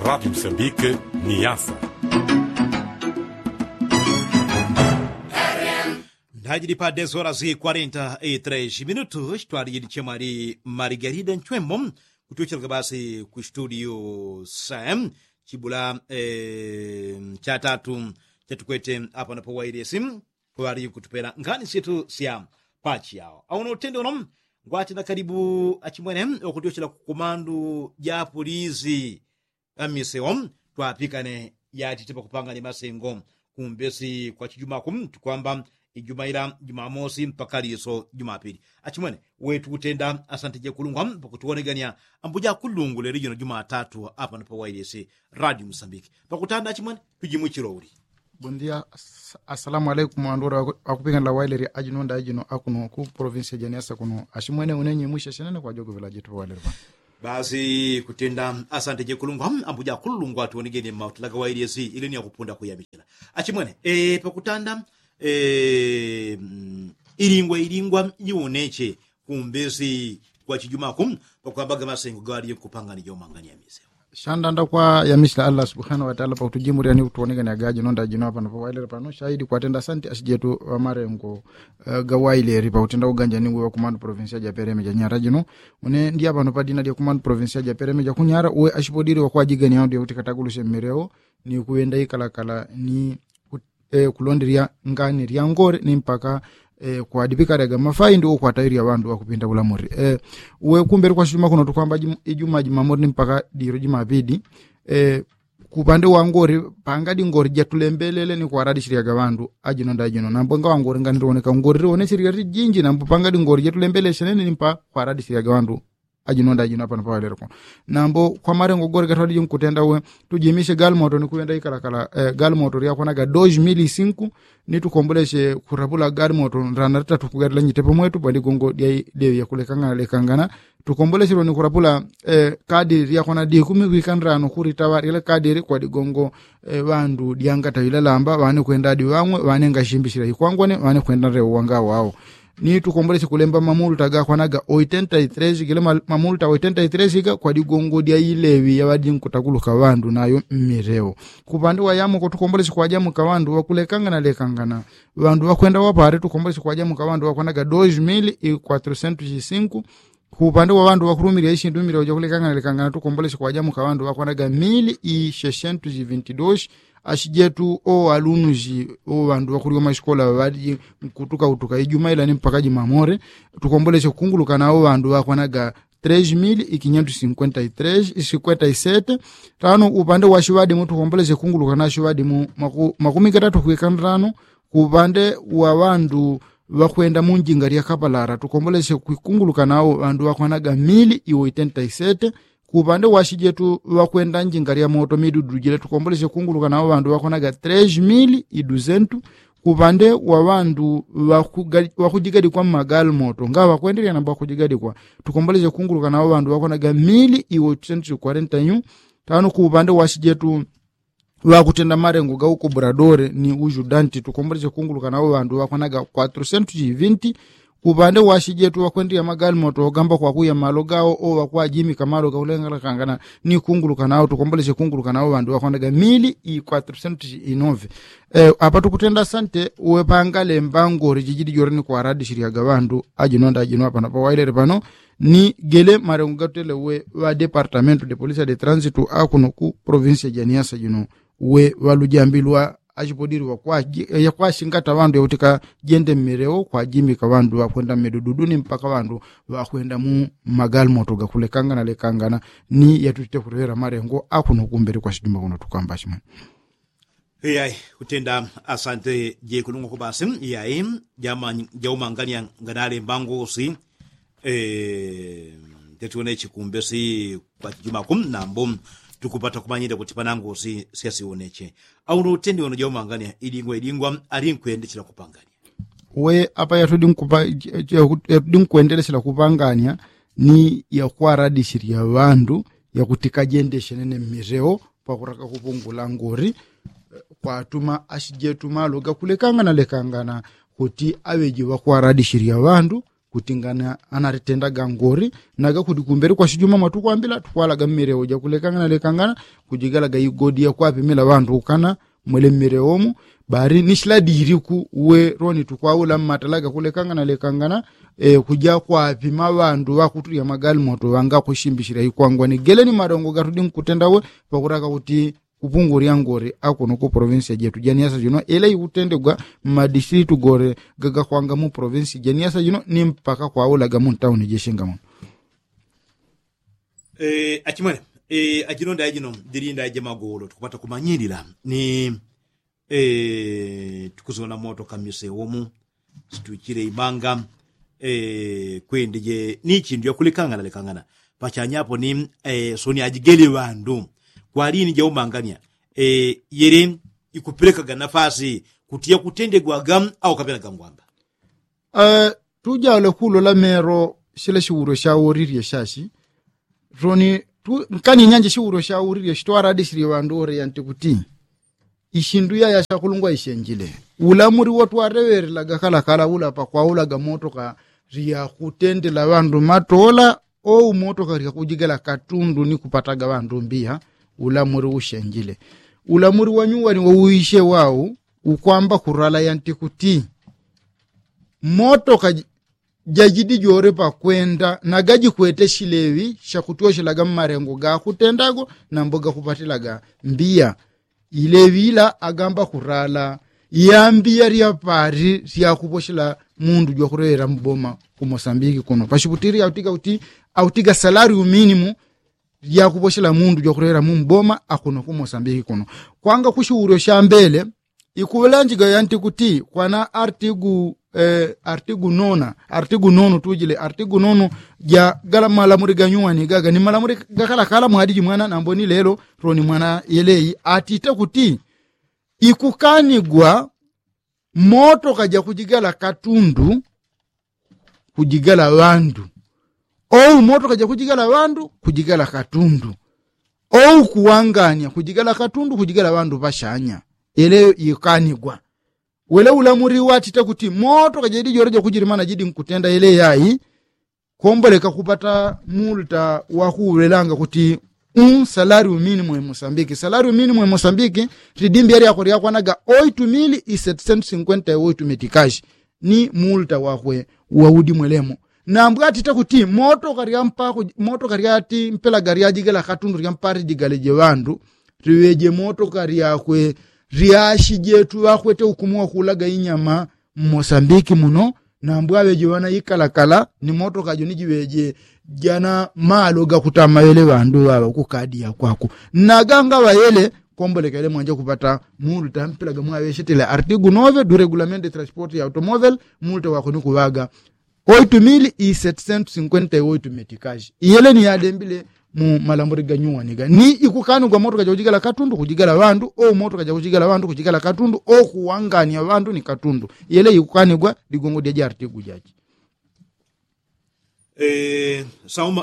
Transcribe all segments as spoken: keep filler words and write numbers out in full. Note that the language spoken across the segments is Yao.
Radi msambike ni yasa. Ndajili pa dez horas quarenta e tres minutos twalili chemwali margarida nchwembo. Kutwechelaga basi ku studio sam chibula cha tatu chatukwete apa na pawailesi. Kwali kutupela ngani syetu sya pachi yao auno utende uno. Ngwati na kalibu achimwene wakutyochela kukumandu japulizi amiseo twapikane yatite pakupangane masengo. Kumbesi kwa chijumaku tukwamba ijuma ila jumamosi mpaka liso jumapili. Achimwene wetu kutenda asante jekulungwa pakutuwonegania ambuja kulungule lijino jumatatu apa na pawailesi. Radio musambiki pakutanda achimwene tujimwichilo uli. Bondia. Asalamu alaikum andura. Akupikanila waileri ajinonda ajino akuno ku provinsi ya janiasa kuno. Ashimwene unenyi mwisha shenene kwa jogo vilaji tupa waileri pa. Basi kutenda asante jekulungwa ambuja kulungwa tuonigeni mautulaga wailesi ilini ya kupunda kuyamichila. Achimwene pakutanda ilingwa ilingwa jiwoneche kumbesi kwa chijumaku pakwambaga masengo gawaliye kupangani jaumangani ya miseo. Shandanda kwa yamisila allah subhanahu wataala pakutujimurya ni kutuonekani agaji nonda jino apano pawailele pano shahidi kwatenda asanti ashijetu wamarengo. Gawaileri pakutenda uganja ni uwe wakumanu provinsia japereme janyara jino. Une ndi apano padina lyakumanu provinsia japereme jakunyara uwe ashipodiri wakwajigani yaundi yakuti katagulusi mmereo ni kuwenda ikalakala ni kulonderya ngani lyangore ni mpaka kwadipikalaga mafaindi ukwatairya ŵandu ŵakupinda ŵulamuri. Uwe kumbeli kwashituma kuno tukwamba ijuma jimamuri ni mpaka diro jimapidi. Kupande wangore pangadi ngore jatulembelele ni kwaralishilaga ŵandu ajino nda ajino nambo ngawa ngore ngani liwoneka ngore liwoneshilaga jinji nambo pangadi ngore jatulembelele shenene ni mpaka kwaralishilaga ŵandu. Ajino nda ajino apano pawalelo kuno nambo kwa marengo gore gatwaliji nkutenda uwe tujimishe galimoto ni kuwenda ikalakala. Galimoto lyakwanaga dos mili sinku ni tukomboleshe kurapula galimoto ndana ritatu kugatila nyitepo mwetu pwaligongo dya idewi yakulekangana lekangana. Tukomboleshelo ni kurapula kadi lyakwana dikumi kwika ndrano kuritaŵa lyele kadi ili kwaligongo ŵandu dyangata yule lamba ŵane kwenda adi ŵang'we ŵane ngashimbishila ikwangwane ŵane kwenda nrewo wanga wao. Ni tukomboleshe kulemba mamulta gakwanaga oitenta i tres gile mamulta oitenta i tres ga kwaligongo dya ileŵi yaŵadi nkutakuluka ŵandu nayo mmilewo. Kupande wa yamoko tukomboleshe kwajamuka ŵandu ŵakulekangana lekangana ŵandu ŵakwenda wapale tukomboleshe kwajamuka ŵandu ŵakwanaga dos mili i kwatrusentu sinku. Kupande wa ŵandu ŵakulumilila ishindu mmilewo jakulekangana lekangana tukomboleshe kwajamuka ŵandu ŵakwanaga mili i sesentu sivinti dos. Ashijetu owalunusi oŵandu ŵakuliwa mashikola ŵaŵaliji nkutukautuka ijuma ila ni mpaka jimamore. Tukomboleshe kukunguluka nawo ŵandu ŵakwanaga tres mili i kinyentu sinkwenta i tres sinkwenta i sete. Tano upande wa shiŵadimu tukomboleshe kukunguluka na shiŵadimu makumi gatatu kwika ndrano. Kupande wa ŵandu ŵakwenda munjinga lya kapalara tukomboleshe kukunguluka nawo ŵandu ŵakwanaga mili i oitenta i sete. Kupande wa shijetu ŵakwenda njinga lya moto midudu jile tukomboleshe kukunguluka nawo ŵandu ŵakwanaga tres mili i dusentu. Kupande wa ŵandu ŵakujigadikwa mmagali moto ngaŵa ŵakwendelya nambo ŵakujigadikwa tukomboleshe kukunguluka nawo ŵandu ŵakwanaga mili i oitrusentu sikwarenta yu. Tano kupande wa shijetu ŵakutenda malengo ga ukobuladore ni ujudanti tukomboleche kunguluka nawo ŵandu ŵakwanaga kwatrusentu jivinti. Kupande wa shijetu ŵakwendile magali moto ogamba kwakuya malo gawo oŵakwajimika malo gakulengalakangana ni kunguluka nawo tukomboleche kunguluka nawo ŵandu ŵakwanaga mili i kwatrusentu jinove. Apa tukutenda sante uwe pangalemba ngori jijili jore ni kwaradi shilyaga ŵandu ajinonda ajino apano pawailele pano. Ni gele malengo gatutele uwe ŵa departamentu de polisia de transitu akuno ku provinsia ja niasa jino uwe ŵalujambilwa achipodili ŵakwashingata ŵandu yakutika jende mmilewo kwajimika ŵandu ŵakwenda mmidududu ni mpaka ŵandu ŵakwenda mu magali moto gakulekangana lekangana. Ni yatutite kutohela malengo akuno kumbele kwashijuma kuno tukamba shimwene. Iyai kutenda asante jekulungwa kubasi iyai. Jaumangania nganale mbangusi. Tetiwone chikumbesi kwa chijumaku nambo tukupata kumanyile kuti panangusi syasiwoneche. Auno utendi wono jaumangania idingwa idingwa ali nkwendechela kupangania. We apa yatudi nkwendelesela kupangania ni yakwaradishilya ŵandu yakutika jendeshenene mmilewo pakutaka kupungula ngori kwatuma ashijetu malo gakulekangana lekangana kuti aŵeji ŵakwaradishilya ŵandu. Kuti ngana anaritendaga ngori naga kuti kumbele kwasijuma mwatukwambila tukwalaga mmilewo jakulekangana lekangana kujigalaga igodi yakwapimila ŵandu ukana mwele mmilewo mu. Bali ni shiladi iliku uwe loni tukwaula mmatalaga kulekangana lekangana kuja kwapima ŵandu ŵakutulya magali moto ŵangakusimbishila ikwangwa ni gele ni malongo gatudi nkutenda uwe pakutaka kuti kupungulya ngore akuno ku provinsi ya jetu janiasa jino ele ikutendegwa mmadisilitu gore gagakwanga mu provinsi janiasa jino ni mpaka kwaulaga mu ntauni jeshinga muno. Achimwene, ajino ndaya jino ndili ndaya jamagolo tukupata kumanyilila ni tukuzona moto kamise womu situichile imanga. Kwende je ni chindu yakulekangana lekangana pachanyapo ni soni ajigele ŵandu kwalini jaumangania yele ikupelekaga nafasi kuti yakutendegwaga au kapelaga ngwamba. Tujaule kulola melo shila shiwulo shaworilye shashi toni nkani nyanje shiwulo shaworilye shitwaradishilye ŵandu ore yanti kuti ishindu yaya shakulungwa ishenjile. Ulamuli wotwareŵelelaga kalakala ula pakwaulaga motoka lyakutendela ŵandu matola ou motoka lyakujigala katundu ni kupataga ŵandu mbiya. Ulamuli ushenjile ulamuli wanyuwani wauwishe wau ukwamba kurala yanti kuti motoka jajidi jore pakwenda na gajikwete shileŵi shakutyoshelaga mmalengo gakutendago nambo gakupatilaga mbiya. Ileŵi ila agamba kurala ya mbiya lyapali lyakuposhela mundu jwakuleŵela mboma ku mosambiki kuno pashiputili autiga kuti autiga salari uminimu lyakuposhela mundu jwakuleŵela mu mboma akuno ku mosambiki kuno. Kwanga kushiwulyo shambele ikuŵelanjiga yanti kuti kwana artigu artigu nona artigu nonu tujile artigu nonu ja gala malamuli ganyuwani gaga ni malamuli gakalakala mwadi jimwana nambo ni lelo loni mwana yeleyi atite kuti ikukanigwa motoka jakujigala katundu kujigala ŵandu ou motoka jakujigala ŵandu kujigala katundu ou kuwangania kujigala katundu kujigala ŵandu ŵashanya. Yeleyo ikanigwa wele ulamuli watite kuti motoka jedi jole jakujilimana jidi nkutenda yeleyo ai komboleka kupata multa wakuwelanga kuti un salario minimo e mosambiki salario minimo e mosambiki lidimbi yali yako lyakwanaga oitu mili i setisentu sinkwenta e oitu metikashi ni multa wakwe waudi mwelemo. Nambwatite kuti motoka lyampako motoka lyati mpelaga lyajigela katundu lyampati jigaleje ŵandu liŵeje motoka lyakwe lyashi jetu ŵakwete ukumu wakulaga inyama mmosambiki muno. Nambwaŵeje ŵana ikalakala ni motoka jo ni jiŵeje jana malo gakutama ŵele ŵandu ŵaŵa kukadi yakwako naga ngaŵa yele komboleka yele mwanja kupata mulu tampelaga mwaŵeshetele artigu nove du regulamento de transporte ya automóvel. Mulu tawako ni kuŵaga oitu mili i setisentu sinkwenta i oitu metikashi iyele ni yalembile mu malambuli ganyuwaniga ni ikukanigwa motoka jakujigala katundu kujigala ŵandu o motoka jakujigala ŵandu kujigala katundu o kuwangania ŵandu ni katundu. Iyele ikukanigwa ligongo dyaja artigu jaji.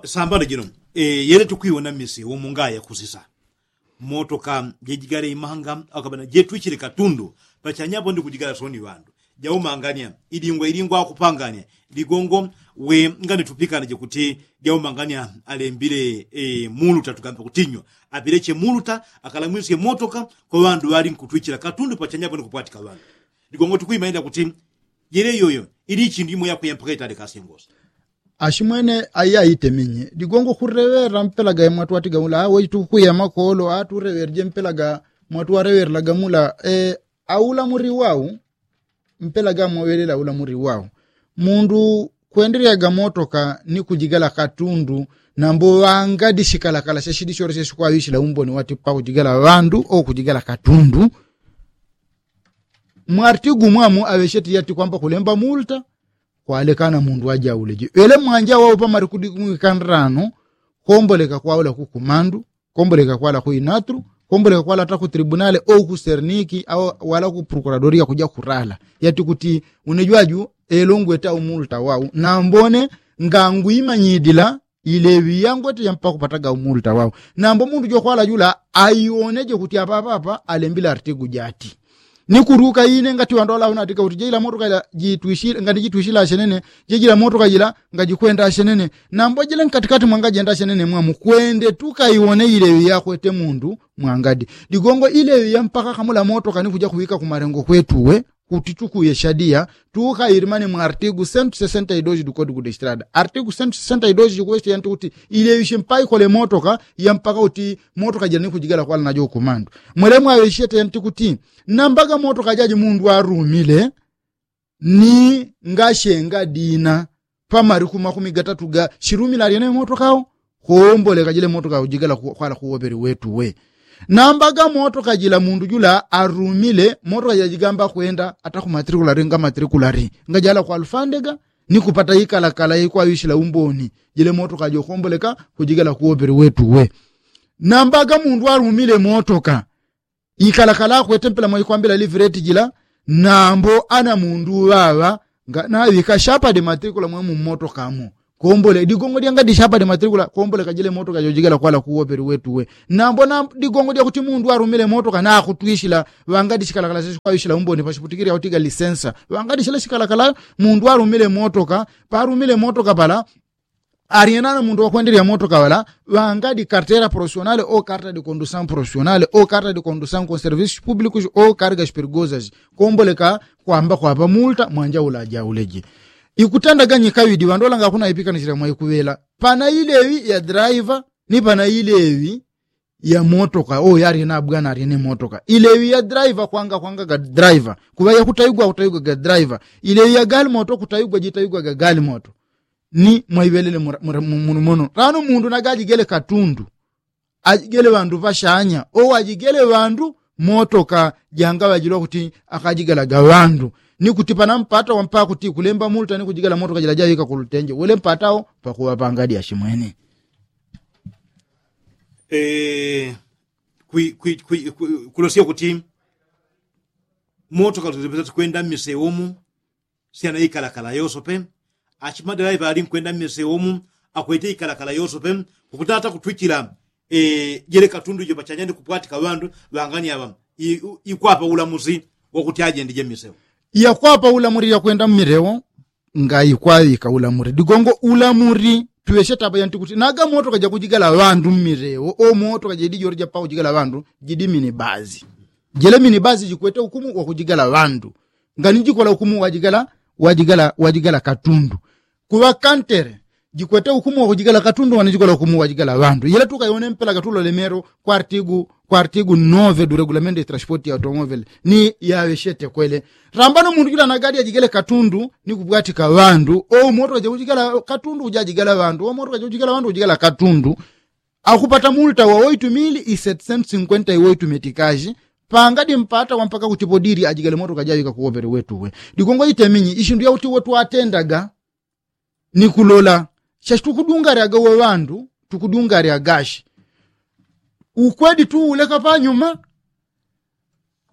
Sambano jino yele tukwiwona mise womungaya kusisa motoka jejigale imanga akabana jetwichile katundu pachanyapo ndi kujigala soni ŵandu jaumangania idingwa idingwa akupangania ligongo we ngani tupikana jekuti jaumangania alembile mulu tatugambe kutinywa apileche mulu ta akalamwisye motoka kwa ŵandu ŵali nkutwichila katundu pachanyapo ndi kupwatika ŵandu. Ligongo tukwima enda kuti jele yoyo ili ichindu imo yakwiya mpaka itale kasengosa. Ashimwene ayi aitemenye ligongo kureŵera mpelaga mwatwatiga mula awe tukwiya makolo atureŵerje mpelaga mwatwareŵerelaga mula. Aula muli wau mpelaga mwaŵelela aula muli wau mundu kwendelyaga motoka ni kujigala katundu nambo ŵanga dishikalakala shashidi shole sheshikwaŵishila umboni wati pakujigala ŵandu o kujigala katundu. Mwartigu mwamu aŵesheti yati kwamba kulemba multa kwalekana mundu wajauleje ŵele mwanja wau pamali kudi mwikandrano komboleka kwaula kukumandu komboleka kwala ku inatru komboleka kwala ata ku tribunale o ku serniki au wala ku prokuradoria kuja kurala yati kuti unejwaju elo ngweta umulta wau nambo ne ngangwimanyidila ileŵi yangwete yampaka kupataga umulta wau. Nambo mundu jokwala jula aioneje kuti apapapa alembile artigu jati Ni kuruka ine ngati ŵandu ŵalaŵanatika kuti jejila motoka jila jitwisila ngati jitwisila ashenene. Jejila motoka jila ngajikwenda ashenene. Nambo jila nkatikati mwangajenda ashenene mwamu kwende tukaiwone ilewi yakwete mundu mwangadi. Ligongo ilewi yampaka kamula motoka ni kuja kuwika kumalengo kwetuwe kuti tukuye shadiya. Tukayilimane mwa artigu sentu sesenta idoji dukodi kudestrada artigu sentu sesenta idoji jikuweshe yanti kuti ilewi shimpai kole motoka yampaka kuti motoka jila ni kujigala kwala najo kumandu. Mwele mwawe ishete yanti kuti nambaga motoka jaji mundu arumile ni ngashenga dina pamariku makumi gatatu ga shirumila aryene motoka wo. Komboleka jile motoka ujigala kwala kuwopeli wetu we. Nambaga motoka jila mundu jula arumile motoka jila jigamba kwenda ata kumatrikulari nga matrikulari ngajala kwa lufandega ni kupata ikalakala yaikwawishila umboni. Jile motoka jokomboleka kujigala kuwopeli wetu we. Nambaga mundu arumile motoka ikalakala akwete mpela mwaikwambila livireti jila. Nambo ana mundu uŵaŵa nga nawika shapade matrikula mwemu mmotokamo. Kombole digongo dyangadi shapade matrikula komboleka jile motoka jojigala kwala kuwopeli wetu we. Nambo na digongo dyakuti mundu arumile motoka nakutwishila ŵangadi shikalakala sheshikwawishila umboni pashiputikili yautiga lisensa ŵangadi shila shikalakala. Mundu arumile motoka parumile motoka pala aryena na mundu wakwendelya motoka ŵala ŵangadi kartera profesionale o karta di kondusaŋ profesionale o karta di kondusaŋ konservisis publikus o karga shipirigosas. Komboleka kwamba kwapa multa mwanja ula ajauleje. Ikutendaga nyikawidi ŵandu ŵalanga akunaipikanisila mwaikuŵela pana ilewi ya draiva ni pana ilewi ya motoka o yaryena bwana aryene motoka ilewi ya draiva kwanga kwanga ga draiva kuŵa yakutaigwa kutaigwa ga draiva. Ilewi ya galimoto kutaigwa jitaigwa ga galimoto. Ni mwaiŵelele mura- mura- mu- muno muno rano mundu nagajigele katundu ajigele ŵandu ŵashanya o wajigele ŵandu motoka janga ŵajilwa kuti akajigalaga ŵandu. Ni kuti pana mpata wampaka kuti kulemba multa ni kujigala motoka jila jawika kulutenje wele mpata wo pakuŵa pangadi ashimwene. Kulosya kuti motoka luzipesa tikwenda mmiseumu. Syana ikalakala yosope achimadelaiva ali nkwenda mmiseumu akwete ikalakala yosope. Kukutata kutwichila jele katundu ijo pachanyani kupwatika ŵandu ŵangani aŵa ikwapa ulamusi wakuti ajendije mmiseu. Yakwapa ulamusi yakwenda mmilewo. Nga ikwawika ulamuri digongo ulamuri tuŵeshe tapa yanti kuti naga motoka jakujigala ŵandu mmilewo o motoka jidi jori japakujigala ŵandu jidi minibazi. Jele minibazi jikwete ukumu wakujigala ŵandu. Ngani jikola ukumu wajigala wajigala wajigala katundu. Kuŵa kantere jikwete ukumu wakujigala katundu ngani jikola ukumu wajigala ŵandu yele tukayone mpela gatulolemero kwa artigu kwa artigu nove du regulamento de transporti ya automovele. Ni yaŵeshete kwele rambano mundu jula nagadi ajigele katundu ni kupwatika ŵandu o motoka jakujigala katundu kujajigala ŵandu o motoka jakujigala ŵandu kujigala katundu. Akupata multa wa oitu mili i setisentu sinkwenta i oitu metikaji pangadi mpata wampaka kuti podiri ajigale motoka jawika kuwopele wetuwe. Digongo iteminyi ishindu yauti wotwatendaga ni kulola shashi tukudungaryaga we ŵandu tukudungaryaga shi ukwedi tuuleka panyuma.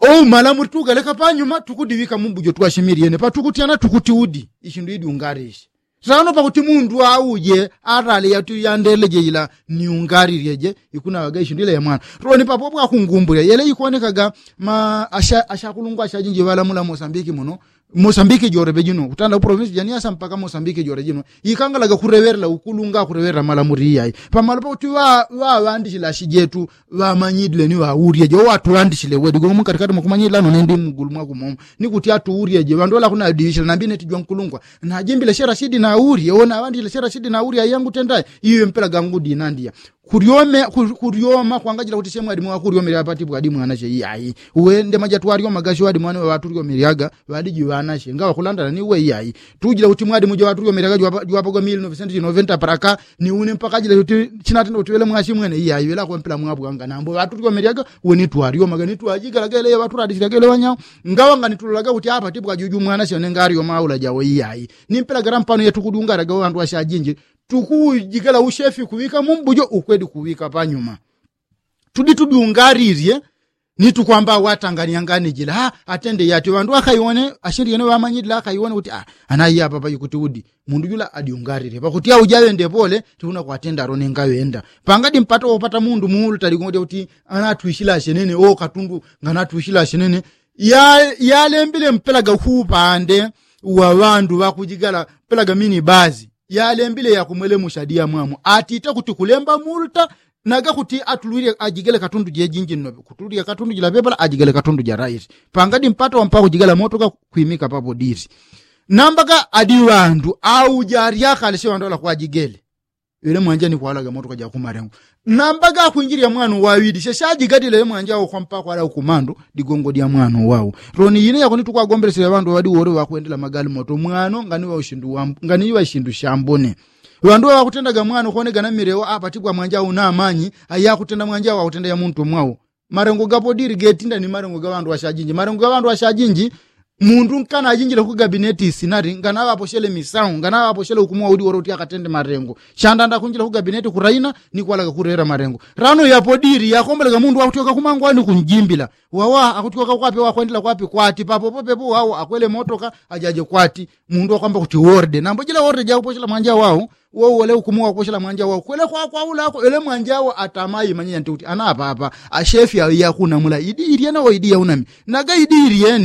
Ou malamuli tugaleka panyuma tukudiŵika mumbujo twashimili yene patukutyana tukuti udi ishindu idyungarishi. Sano pakuti mundu auje arale yatu yandeleje ila niungarilyeje ikunaŵaga ishindu ila ya mwana. Toni papo pwakungumbulya yele ikonekaga ma ashakulungwa ashajinji ŵalamula mosambiki muno. Mosambiki jore pejino kutanda uprovinsi janiasa mpaka mosambiki jore jino ikangalaga kureŵerela ukulunga kureŵerela malamuli iyayi. Pamalo pakuti ŵaŵandishile ashijetu ŵamanyidile ni ŵaulyeje owatuŵandishile wedi gomo mukatikati mwakumanyidila nonendi mugulu mwakumomo. Ni kuti atuulyeje ŵandu ŵalakunadiŵishila nambi neti jwankulungwa najimbile shera shidi naulye onaŵandishile shera shidi naulye ayangu tendayi. Iwe mpela gangu dinandiya kuryome kuryoma kwangajila kuti she mwadimu wakuryomela ŵapati pwadi mwanashe iyayi. Uwe ndema jatwaryomaga she ŵadimu wane ŵaŵaturyomelyaga ŵadiji ŵanashe ngaŵakulandana ni uwe iyayi. Tujila kuti mwadimu jwaŵaturyomelyaga jwapaga mili novesentu jinoventa paraka ni une mpaka jila kuti chinatenda kuti ŵele mwashi mwene iyayi ŵele akwempela mwabwanga nambo ŵaturyomelyaga. Uwe nitwaryomaga nitwajigalaga ŵele ŵaturadishilyaga ŵele ŵanyao. Ngaŵa nganitulolaga kuti apati pwajuju mwanashe one ngaryoma aula jawo iyayi. Nimpela galampano yetukudungalaga ŵandu ŵashajinji tukujigala ushefi kuŵika mumbujo ukwedi kuŵika panyuma. Tudi tudyungarilye ni tukwamba awatanganyanganijila atende yati ŵandu akaiwone ashindi yene ŵamanyilila akaiwone kuti ana iya papa ikuti udi. Mundu jula adyungarilye pakuti aujaŵende pole. Tiuna kwatenda arone ngaŵenda pangadi mpata wopata mundu muulu taligongo dyakuti anatwishila ashenene o katundu nganatwishila ashenene. Yalembile mpela ga kuupande wa ŵandu ŵakujigala mpela ga mini bazi yalembile yakumwelemusha diya mwamu atite kuti kulemba multa naga kuti atulwile ajigele katundu jejinji nnobe kutulwile katundu jila pepela ajigele katundu ja raisi. Pangadi mpata wampa kujigala motoka kwimika papo disi. Nambaga adi ŵandu au jaryakale si ŵandu ŵala kwajigele. Ŵele mwanja ni kwalaga motoka jakumalengo. Nambaga akwinjilila mwana uwawili sheshajigadile ŵele mwanja au kwampa kwala ukumandu digongo dya mwana uwau. Loni yine yakoni tukwagombelesela ŵandu ŵaŵadi wole ŵakwendela magali moto mwano nganiwa ushindu shambone. Ŵandu ŵaŵakutendaga mwana ukwonegana milewo apatigwa mwanja au namanyi ayakutenda mwanja au akutenda ya muntu mwau. Malengo gapo dili getinda ni malengo ga ŵandu ŵashajinji malengo ga ŵandu ŵashajinji. Mundu nkana ajinjile ku gabineti isinali nganaŵaposhele misau nganaŵaposhele ukumu waudi wole uti akatende malengo. Shandanda akunjila ku gabineti kuraina ni kwalaga kulela malengo. Lano yapo dili yakombolega mundu wakutyoka kumangwani kunjimbila wawa akutyoka kwape wakwendela kwape kwati papopo pepo wau akwele motoka ajaje kwati. Mundu wakwamba kuti worde nambo jila worde jakuposhela mwanja wau. Wou wole ukumu wakuposhela mwanja wau kwele kwakwaulako ele mwanja wau atamayi manyenya nti kuti ana apapa ashefi awi yakunamula idi ilyene wo idi yaunami naga idi ilyene.